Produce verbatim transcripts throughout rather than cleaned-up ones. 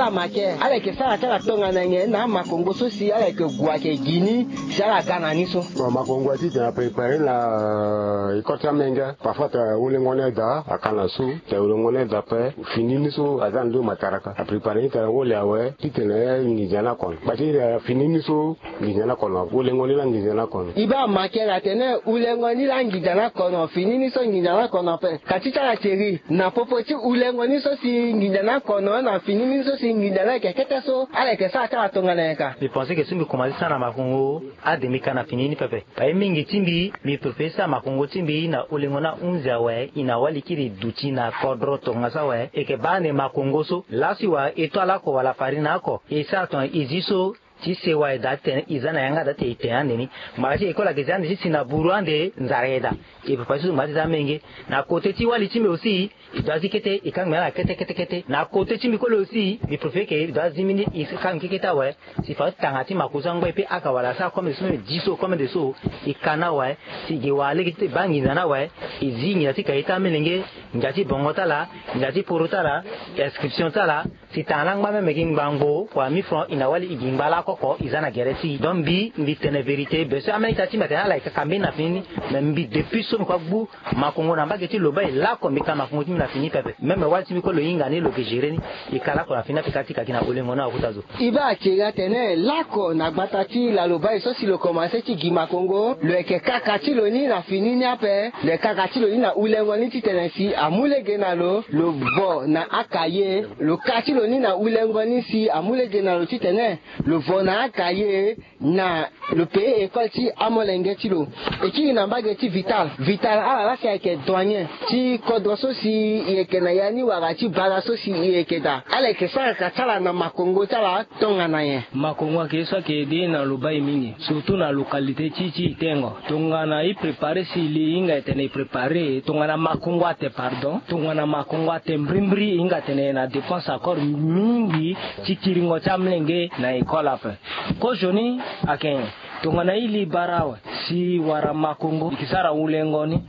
Amake ala yeke sara ti ala tongana nyen na amakongo so si ala yeke gue ayeke gi ni si ala ga na ni so? Bon, makongo ti tene aprépare na école ti amenge. Parfois tene wulengo ni daa aka na su, tene wulengo ni daa ape, fini ni so aza na ndo mataraka. Aprépare ni tene wole awe ti tene nginza ni akono. Bati tene fini ni so nginza ni akono, wulengo ni la nginza ni akono. E baa make na tene wulengo ni la nginza ni akono, fini ni so nginza ni akono ape. Ka ti ti ala seri na popo ti wulengo ni so si nginza ni akono na fini ni so si nginza ni ayeke kete so, ala yeke sara ti ala tongana nyen ka? Mbi pense ke so mbi komanse sara na makongo ade mbi ka na fini ni pepe. Paye mingi ti mbi, mbi préféré sara makongo ti mbi na wulengo ni ahunzi awe, e na wali kiri duti na kodro tongaso awe, e yeke baa ande makongo so laso e wara e to ala oko wala farine oko, e sara tongana e zi so ti sewa e daa ti tene e za na yanga daa ti tene e tene ande ni. Ngbanga ti école ayeke zi ande ti si na buru ande nzara e daa. E préféré so ngbanga ti za amenge. Na côté ti wali ti mbi aussi, e doit zi kete, e kangbi na ala kete kete kete. Na côté ti mbi kue lo aussi, mbi préféré ke e doit zi mbeni e kangbi kete kete awe. Si fa tanga ti makongo so angba e pe aka wala asara comme de so, même dix so comme de so, e ka na awe. Si e gi wala lege ti e baa nginza ni awe, e zi nginza ti kaye ti amolenge, nginza ti bongo ti ala, nginza ti poro ti ala, inscription ti ala. Si tanga ni angba même gi ngbangbo wala mille francs, e na wali e gi ngba lakoko e za na gere ti e. Donc mbi, mbi tene vérité be so amolenge ti ala ti mbi atene ala yeke ka mbeni na fini ni. Mais mbi depuis so mbi kue agbu makongo na mbage ti lobai lako mbi ka makongo ti mbi na fini pepe. Même wali ti mbi kue lo hinga ni lo yeke gérer ni. E ka lako na fini ape ka ti ka gi na wulengo ni akota zo. E baa akiri atene lako na gbata ti lalobai so si lo komanse ti gi makongo, lo yeke kaka ti lo ni na fini ni ape, lo yeke kaka ti lo ni na wulengo ni ti tene si amu lege na lo, lo vo na akaye, lo ka ti lo ni na wulengo ni si amu lege na lo ti tene lo vo na akaye, na lo paye école ti amolenge ti lo. E kiri na mbage ti Vital. Vital ala laa si ayeke douanier ti kodro so si e yeke na ya ni wala ti bara so si e yeke daa. Ala yeke sara ka ti ala na makongo ti ala tongana nyen? Makongo ayeke ye so ayeke aidé na lobai mingi, surtout na localité ti e ti e tengo. Tongana e préparer si e li e hinga e tene e préparer, tongana makongo ate pardon, tongana makongo ate mbrimbri e hinga tene e na dépense encore mingi ti kiringo ti amolenge na école ape. Kozoni ayeke nyen? Tongana e li bara awe si e wara makongo, e ke sara wulengo ni.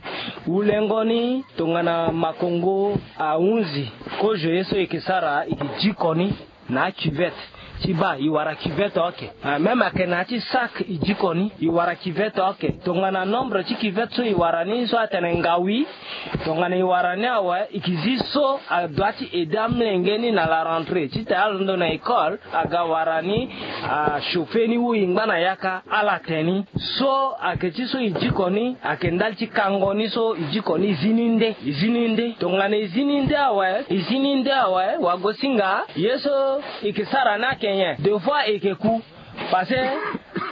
Wulengo ni tongana makongo ahunzi, kozo ye so e ke sara e ke diko ni na acuvette. Ti baa e wara cuvette oke. Ah, même ayeke na ya ti sac e diko ni, e wara cuvette oke. Tongana nombre ti cuvette so e wara ni so atene ngawi, tongana e wara ni awe, e ke zi so adoit ti aider amolenge ni na la rentrée ti tene alondo na école aga wara ni, achauffer ni ou e ngba na yaka ala tene ni. So ayeke ti so e diko ni ayeke ndali ti kango ni so e diko ni e zi ni nde, e zi ni nde. Tongana e zi ni nde awe, e zi ni nde awe, wagosinga ye so e ke sara ni ayeke nyen? Deux fois e ke ku. Parce que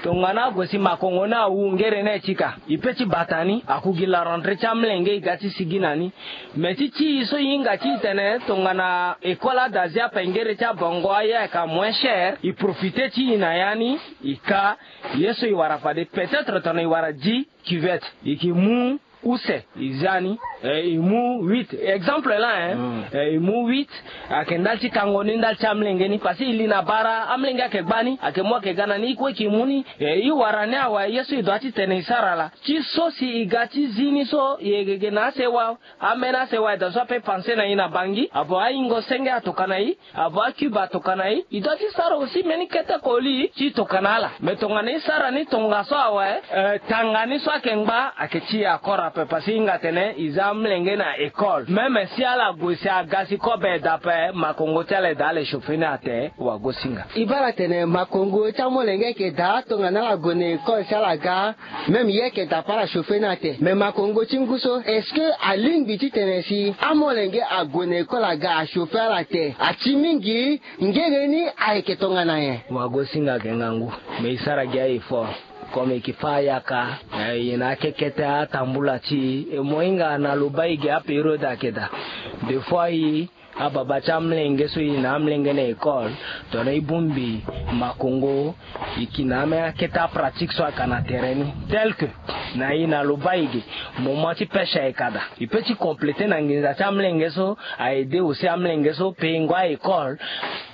tongana ague si makongo ni awu ngere ni ti ka, e pe ti bata ni, aku gi la rentrée ti amolenge e ga ti sigi na ni. Mais ti ti e so e hinga ti e tene tongana école adazi ape ngere ti abongo aye ayeke moins cher, e profiter ti e na ya ni, e ka ye so e wara fade. Peut-être tongana e wara dix cuvettes, e ke mu use e za ni, eh, e mu huit. Exemple laa, hein. Eh, e mu huit, ayeke ndali ti kango ni ndali ti amolenge ni. Parce que e li na bara, amolenge ayeke gba ni, ayeke mu ayeke ga na ni, e kue e ke mu ni. Eh, e wara ni awe, ye so e doit ti tene e sara laa. Ti so si e ga ti zi ni so, e yeke ge na asewa. Ambeni asewa e daa so ape panse na e na bangi, avo ayingo senge atokana e, avo acube atokana e, e doit ti sara aussi mbeni kete koli ti tokana ala. Mais tongana e sara ni tongaso awe, eh, tanga ni so ayeke ngba ayeke ti e akora ape, parce que e hinga atene e za amolenge na école. Même si ala gue si aga si kobe e daa ape, makongo ti ala e daa ala e chauffer ni ate, wagosinga. E baa ala tene makongo ti amolenge ayeke daa tongana ala gue na école si ala ga. Même ye ayeke daa ape ala chauffer ni ate. Mais makongo ti ngu so, est-ce que alingbi ti tene si amolenge ague na école aga achauffer ala ate? Ati mingi, ngere ni ayeke tongana nyen? Wagosinga ayeke ngangu. Mais e sara gi a-effort. Comme e ke fâ ayaka, eh, e na akekete atambula ti e. E mo hinga na lobai ge apériode ayeke daa. Des fois e ababa ti amolenge so e na amolenge na école, tongana e bongbi makongo, e ke na ambeni akete apratique so ayeke na tere ni. Tel que na e na lobai ge, moment ti pêche ayeke daa. E pe ti compléter na nginza ti amolenge so, a aider aussi amolenge so, pe e ngu a-école,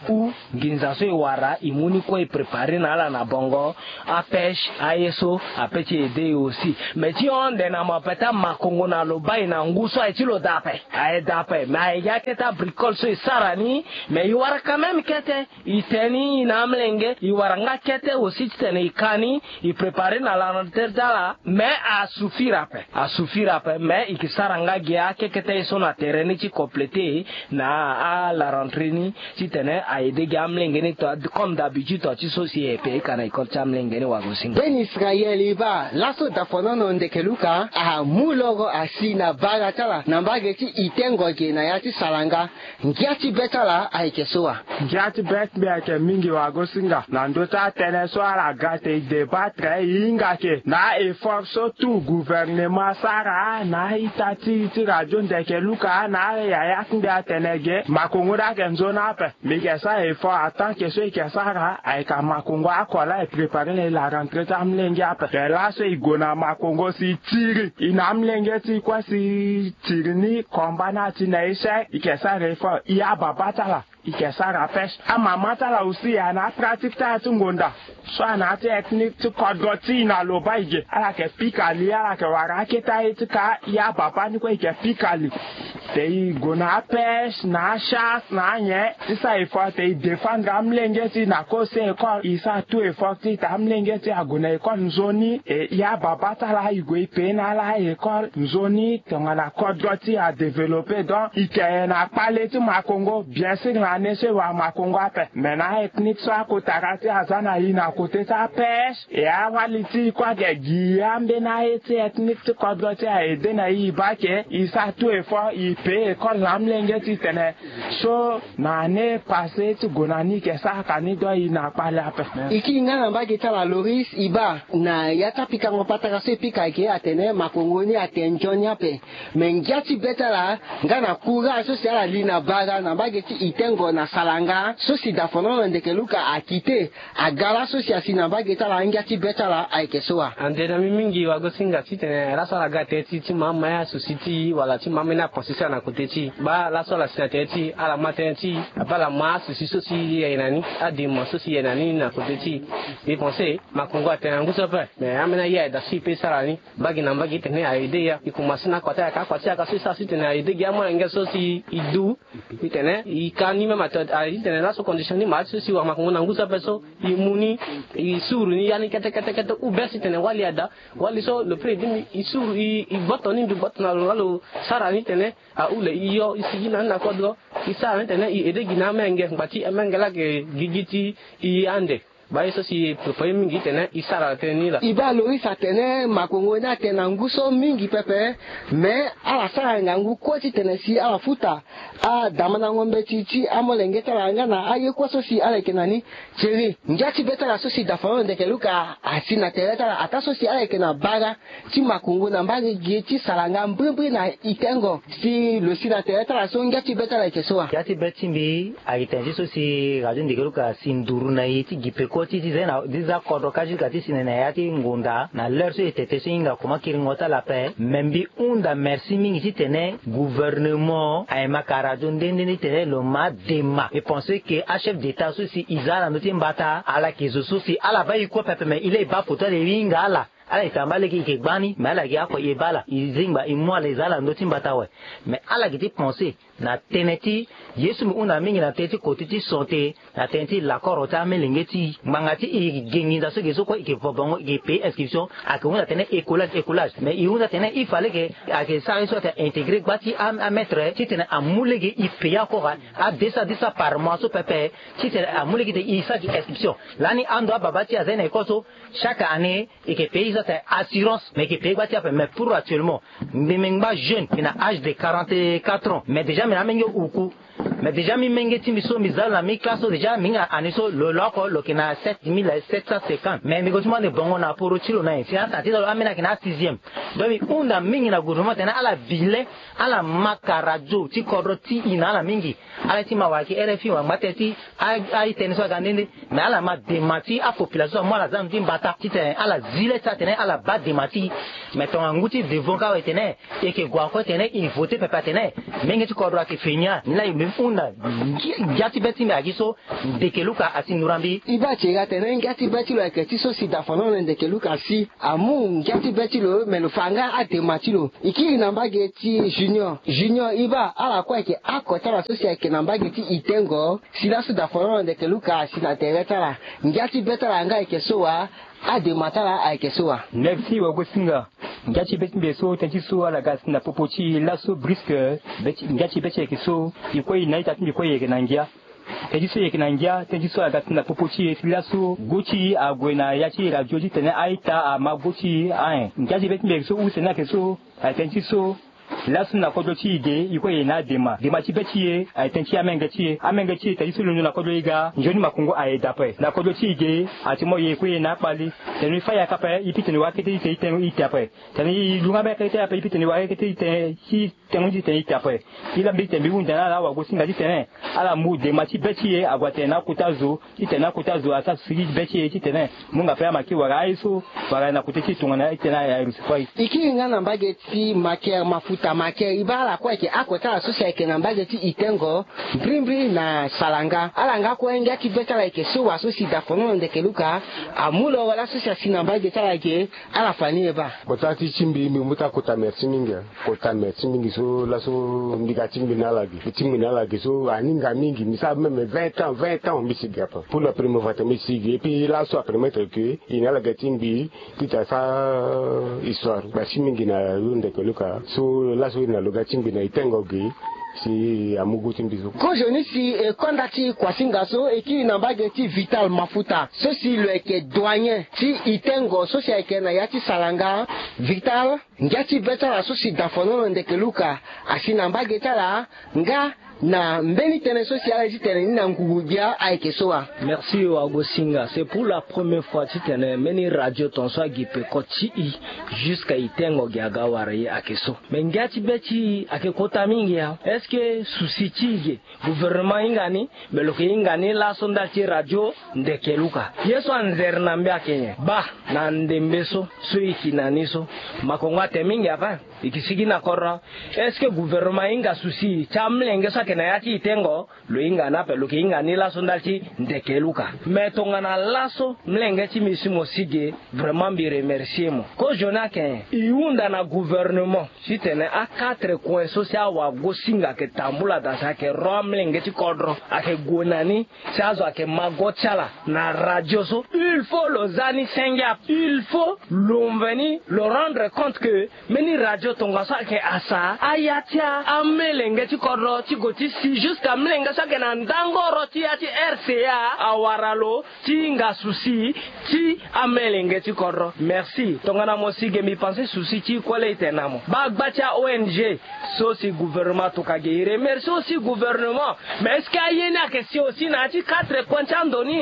ou nginza so e wara, e mu ni kue e préparer na ala na bongo, apêche, aye so, ape ti aider e aussi. Mais ti hon ande na mo ape ti amakongo na lobai na ngu so aye ti lo daa ape. Aye daa ape. Mais aye gi akete abrique école so e sara ni. Mais e wara quand même kete, e tene ni na amolenge, e wara nga kete aussi titene e ka ni, e préparer na la rentrée ti ala. Mais asuffire ape, asuffire ape, mais e ke sara nga ge akekete ye so na tere ni ti compléter na ala rentrée ni, titene a aider ge amolenge ni to, comme d'habitude to ti so si e pe e ka na école ti amolenge ni. Wagosinga. Ben Israël, e baa laso dafonono ndeke luka amu loro asi na bara ti ala na mbage ti itengo ge na ya ti salanga. Ngia ti be ti ala ayeke so wa? Ngia ti be ti mbi ayeke mingi wagosinga na ndö ti atënë so ala ga te e débattre e hinga ke na a-effort so tout gouvernement asara na a-ita ti ti radio ndeke luka na ayaya ti mbi atene ge makongo ni ayeke nzoni ape. Mbi yeke sara effort atant que so e yeke sara ayeke amakongo oko laa e préparer na e la rentrée ti amolenge ape. Te laso e gue na makongo si e tiri e na amolenge ti e kue si e tiri ni combat ni ati na échec, e yeke sara effort. E ababa ti ala e yeke sara pêche. Amama ti ala aussi ayeke na apratique ti ala ti ngonda so ayeke na ya ti ethnique ti kodro ti e na loba e ge ala yeke pika li, ala yeke wara akete aye ti ka. E ababa ni kue e yeke pika li. Te e gue na apêche na achasse na anyen ti sara effort te e défendre amolenge ti e na kosi école. E sara tout effort ti e te amolenge ti e ague na école nzoni. E e ababa ti ala e gue e pe na ala école nzoni tongana kodro ti e adévelopper. Donc e yeke na kpale ti makongo bien sûr na année so e wara makongo ape. Mais na a-ethnique so akotara ti e aza na e na côté ti apêche. E awali ti e kue ayeke gi ambeni aye ti ethnique ti kodro ti e a-aider na e. E baa ke e sara tout effort e pe école na amolenge ti e tene so na année passée ti gue na ni e yeke sara ka ni. Donc e na kpale ape. E kiri nga na mbage ti ala Loris, e baa na ya ti apikango patara so e pika ayeke atene makongo ni atene nzoni ape. Me ngia ti be ti ala nga na courage so si ala li na bara na mbage ti itengo na salanga so si dafonono ndeke luka akite aga laso si asi na mbage ti ala. Angia ti be ti ala ayeke so wa? Ande na mbi mingi wagosinga titene laso ala ga tere ti ti ma ama ya souci ti e wala ti ma ambeni apense ti ala na côté ti e. Baa laso ala si na tere ti e ala ma tënë ti e, abaa ala ma asouci so si e yeke na ni, adema so si e yeke na ni na côté ti e. Mbi pense makongo atene na ngu so ape. Me ambeni aye ayeke daa so e pe e sara ni mbage na mbage titene a-aider ya. E komanse na akua ti ayaka akua ti ayaka so e sara titene a-aider gi amolenge so si e du. Titene e ka ni même ato a titene laso condition ni ma ti so si wara makongo na ngu so ape so e mu ni, e suru ni ya ni kete kete kete ou bien titene wali ada, wali so le prix e dimi e suru e gboto ni mbi gboto na lo nga lo sara ni tene ahule e yo e sigi na ni na kodro. E sara ni tene e aider gi na amenge ngba ti amenge laa ayeke gigi ti e ande. Baa ye so si e préparer mingi titene e sara tënë ni laa. E baa Loris atene makongo ni atene na ngu so mingi pepe. Me ala sara ngangu kue titene si ala futa adamandango mbeti ti amolenge ti ala nga na aye kue so si ala yeke na ni. Thierry, ngia ti be ti ala so si dafonono ndeke luka asi na tere ti ala ataa so si ala yeke na bara ti makongo na mbage gi ti salanga mbrimbri na itengo. Si lo si na tere ti ala so ngia ti be ti ala ayeke so wa? Ngia ti be ti mbi ayeke tene ti so si radio ndeke luka asi nduru na e ti gi peko ti ti za na ti za kodro kâ ti luka ti si na e na ya ti ngonda na l'heure so e tete so e hinga koma kiringo ti ala ape. Me mbi hunda merci mingi titene gouvernement ayeke ma ka radio nde nde nde titene lo ma dema. E pense ke achef d'état so si e za ala ndö ti mbata ala yeke zo so si ala baa e kue pepe me e laa e baa poto ala e hinga ala. Ala yeke tamba lege e yeke gbani me ala gi oko e baa ala e zingba e mu ala e za ala ndö ti mbata awe. Me ala gi ti pense na tënë ti ye so mbi hunda mingi na tënë ti côté ti santé, na tënë ti lakoro ti amolenge ti e ngbanga ti e e yeke gi nginza so ge so kue e yeke vo bango e yeke payer inscription. Ayeke hunda tene écolage écolage me e hunda tene il fallait ke ayeke sara ye so ayeke intégrer gba ti amaître titene amu lege e payer oko ade sa de sa par mois so pepe. Titene amu lege te e sara gi inscription lani ando ababa ti e aza ye na école so chaque année e yeke payer so atene assurance me e yeke payer gba ti ape. Mais pour actuellement mbi mengba jeune mbi na âge de quarante-quatre ans mais déjà mbi na amenge uku. Mais déjà mbi menge ti mbi so mbi za lo na mi classe so déjà mbi hinga année so lo lo oko lo yeke na sept mille sept cent cinquante mais mbi gue ti mu ande bongo na aporo ti lo na nyen si atene ti lo ambeni ayeke na asixième. Donc mbi hunda mingi na gouvernement atene ala vile ala ma ka radio ti kodro ti e na ala mingi. Ala ye ti ma wala yeke R F I wala ngba tënë ti a-ita ni so aga nde nde. Mais ala ma dema ti apopulation so amu ala za na ndö ti mbata titene ala zi le ti atene ala baa dema ti e. Mais tongana ngu ti devant ka awe tene e yeke gue encore tene e voter pepe atene menge ti kodro ayeke fe ni a ni laa e mbi mu. Na ngia ti be ti mbi ayeke so, ndeke luka asi noura mbi. E baa ti e ga tene ngia ti be ti lo ayeke ti so si dafanono ndeke luka asi amu ngia ti be ti lo me lo fa nga adema ti lo. E kiri na mbage ti junior. Junior e baa ala kue ayeke oko ti ala so si ayeke na mbage ti itengo si laso dafanono ndeke luka asi na tere ti ala. Ngia ti be ti ala nga ayeke so wa? Adema ti ala ayeke so wa? Merci wagosinga. Ngia ti be ti mbi ayeke so tënë ti so ala ga asi na popo ti e laso briske. Ngia ti be ti e ayeke so, e kue e na ita ti mbi kue e yeke na ngia. Tënë ti so e yeke na ngia tënë ti so aga si na popo ti e si laso go ti e ague na ya ti radio titene a-ita ama go ti e aen. Ngia ti be ti mbi ayeke so use ni ayeke so. Aye tënë ti so laso na kodro ti e ge e kue e na adema. Dema ti be ti e aye tënë ti amenge ti e. Amenge ti e tënë ti so londo na kodro e ga nzoni makongo aye daa ape. Na kodro ti e ge ati mo e kue e na akpali. Tene e fa yaka ape e pitene wara kete titene e te ape. Tene e lunga mbeni kete ape e pitene wara kete titene e tengo ni titene e te ape. E la mbi titene mbi hunda na ala wagosinga titene ala mu dema ti be ti e ague atene na akota zo titene na akota zo asara siriri ti be ti e titene munga ape ama ke wara aye so wara na kote ti e tongana titene aye aye lo si fo aye. E kiri nga na mbage ti Maker Mafuta. Maker e baa ala kue ayeke oko ti ala so si ayeke na mbage ti itengo mbirimbiri na Salanga. Ala nga kue ngia ti be ti ala ayeke so wa so si dafanono ndeke luka amu lo wala so si asi na mbage ti ala ge. Ala fa ni e baa. Kota ti ti mbi mbi mu ti akota merci mingi. Kota merci mingi so laso mbi ga ti mbi na ala ge mbi ti mbi na ala ge so aninga mingi mbi sara même vingt ans vingt ans mbi si ge ape. Pour la première fois tene mbi si ge et puis laso apermettre que e na ala ge ti mbi titene asara histoire. Merci mingi na lo ndeke luka so laso e na lo ga ti mbi na itengo ge. Si amu gu ti mbi so. Kozoni si e konda ti kuasinga so e kiri na mbage ti Vital Mafuta so si lo yeke douanier ti itengo so si ayeke na ya ti Salanga. Vital, ngia ti be ti ala so si dafanono ndeke luka asi na mbage ti ala nga na mbeni tënë so si ala ye titene ni na ngungu gbia ayeke so wa? Merci wagosinga. C'est pour la première fois titene mbeni radio tongaso agi peko ti e jusqu'à itengo gi aga wara e ayeke so. Mais ngia ti be ti e ayeke kota mingi ya. Est-ce que souci ti e ge gouvernement ahinga ni? Mais lo yeke hinga ni laso ndali ti radio ndeke luka ye so anzere na mbi ayeke nyen? Baa na ndembe so so e yeke na ni so makongo atene mingi ape. E yeke sigi na kodro. Est-ce que gouvernement ahinga souci ti amolenge so ayeke na ya ti itengo? Lo hinga ni ape lo yeke hinga ni laso ndali ti ndeke luka. Mais tongana laso molenge ti mbi si mo si ge vraiment mbi remercie mo. Kozoni ayeke nyen? E hunda na gouvernement titene a quatre coin so si awagosinga ayeke tambula daa si ayeke ro amolenge ti kodro ayeke gue na ni si azo ayeke ma go ti ala na radio so. Il faut lo za ni senge ape. Il faut lo mveni lo rendre compte que mbeni radio tongaso ayeke asa aya ti amolenge ti kodro ti go ti si jusqu'à molenge so ayeke na ndangoro ti ya ti R C A awara lo ti hinga souci ti amolenge ti kodro. Merci. Tongana mo si ge mbi pense souci ti e kue laa e tene na mo. Baa gba ti a-O N G so si gouvernement atoka ge. E remercie aussi gouvernement. Mais est-ce que aye ni ayeke si aussi na ya ti quatre coin ti ando ni?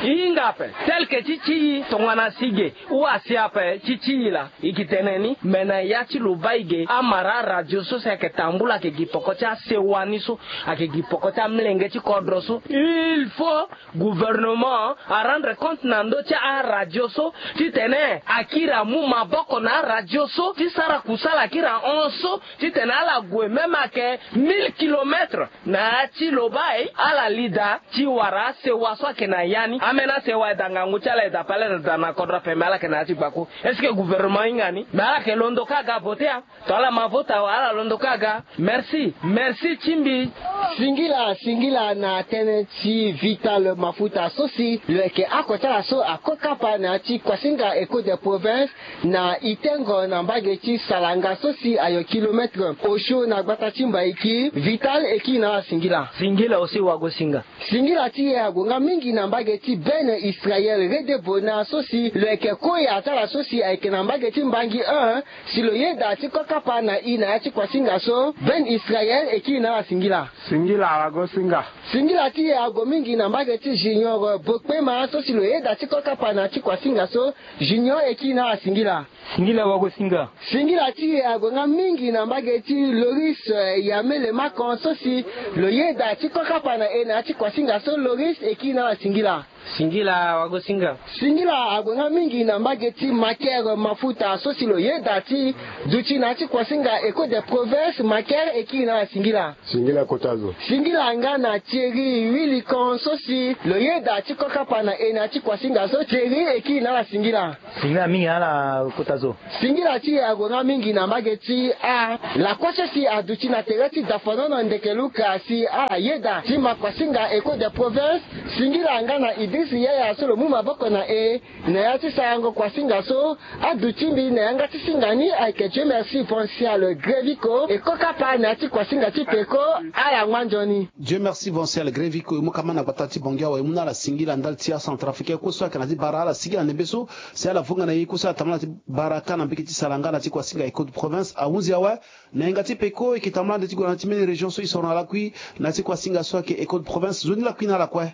E hinga ape tel que ti ti e tongana si ge ou asi ape ti ti e laa. E yeke tene ni me na ya ti lo baa e ge amara aradio so si ayeke tambula ayeke gi peko ti asewa ni so ayeke gi peko ti amolenge ti kodro so. Il faut gouvernement arendre compte na ndö ti aradio so titene akiri amu maboko na aradio so ti sara kusala akiri ahon so titene ala gue même ayeke mille kilomètres na ya ti lo baa e ala li daa ti wara asewa so ayeke na ya ni. Ambeni asewa e daa ngangu ti ala e daa pale na daa na kodro ape me ala yeke na ya ti gbaku. Est-ce que gouvernement ahinga ni? Me ala yeke londo kâ aga vote a. To ala ma vota awe ala londo kâ aga. Merci. Merci ti mbi. Singila singila na tënë ti Vital Mafuta so si lo yeke oko ti ala so ako kapa na ya ti kuasinga Echo des Provinces na Itengo na mbage ti Salanga so si ayo kilomètre osio na gbata ti Mbaiki. Vital e kiri na ala singila. Singila aussi wagosinga. Singila ti e ague nga mingi na mbage ti Bene Israel Redebona so si lo yeke koya ti ala so si ayeke na mbage ti Mbangi un. Si lo yeda ti ko kapa na e na ya ti kuasinga so, Bene Israel e kiri na ala singila. Singila wagosinga. Singila ti e ague mingi na mbage ti Junior Bokpema so si lo yeda ti ko kapa na ya ti kuasinga so, Junior e kiri na ala singila. Singila wagosinga. Singila ti e ague nga mingi na mbage ti Loris, eh, Yamele Makon so si lo yeda ti ko kapa na e na ya ti kuasinga so, Loris e kiri na ala singila. Singila wago singa. Singila ague nga mingi na mbage ti Maker Mafuta so si lo yeda ti duti na ya ti kuasinga Echo des Provinces. Maker e kiri na ala singila. Singila kota zo. Singila nga na Thierry Willicon so si lo yeda ti kokapa na e na ya ti kuasinga so. Thierry e kiri na ala singila. Singila mingi na ala kota zo. Singila ti e ague nga mingi na mbage ti a lakue so si aduti na tere ti dafanono ndeke luka si ala yeda ti ma kuasinga Echo des Provinces. Singila nga na Idriss Yaya so lo mu maboko na e na ya ti sarango kuasinga so. Aduti mbi na yanga ti singa ni ayeke Dieu merci Foncial Grevico e kokapa na ya ti kuasinga ti peko. Ala ngba nzoni. Dieu merci Foncial Grevico e mu kama na gbata ti Bangui awe e mu na ala singila ndali ti acentrafricain kue so ayeke na ti bara ala singila ndembe so. Si ala vunga na ye kue so ala tambula na ti bara ka na mbege ti Salanga na ti kuasinga Echo de Province ahunzi awe. Na yanga ti peko e yeke tambula ande ti gue na ti mbeni région so e soro na lakui na ti kuasinga so ayeke Echo de Province. Nzoni lakui na ala kue.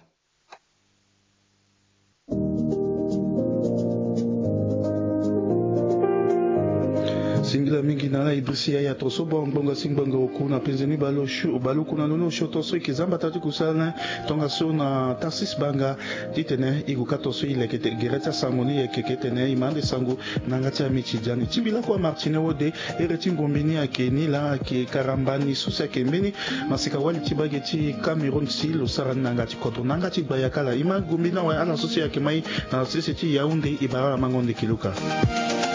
Singila mingi na ala Idriss Yaya tongana so bongo ngbonga si ngbonga oku na penze ni bale osio bale oku na lo ni osio tongana so e yeke za mbata ti kusala ni. Tongaso na Tarsis Banga titene e gue ka tongana so e leke gere ti asango ni e yeke ke tene e ma ande sango na yanga ti amitidia ni ti mbi lakue Martine Wode. Here ti ngombe ni ayeke ni laa ayeke karambani so si ayeke mbeni masika wali ti mbage ti Cameroun si lo sara ni na yanga ti kodro na yanga ti gbaya kala e ma ngombe ni awe ala so si ayeke ma e na sese ti Yaoundé e bara ala mango ndeke luka.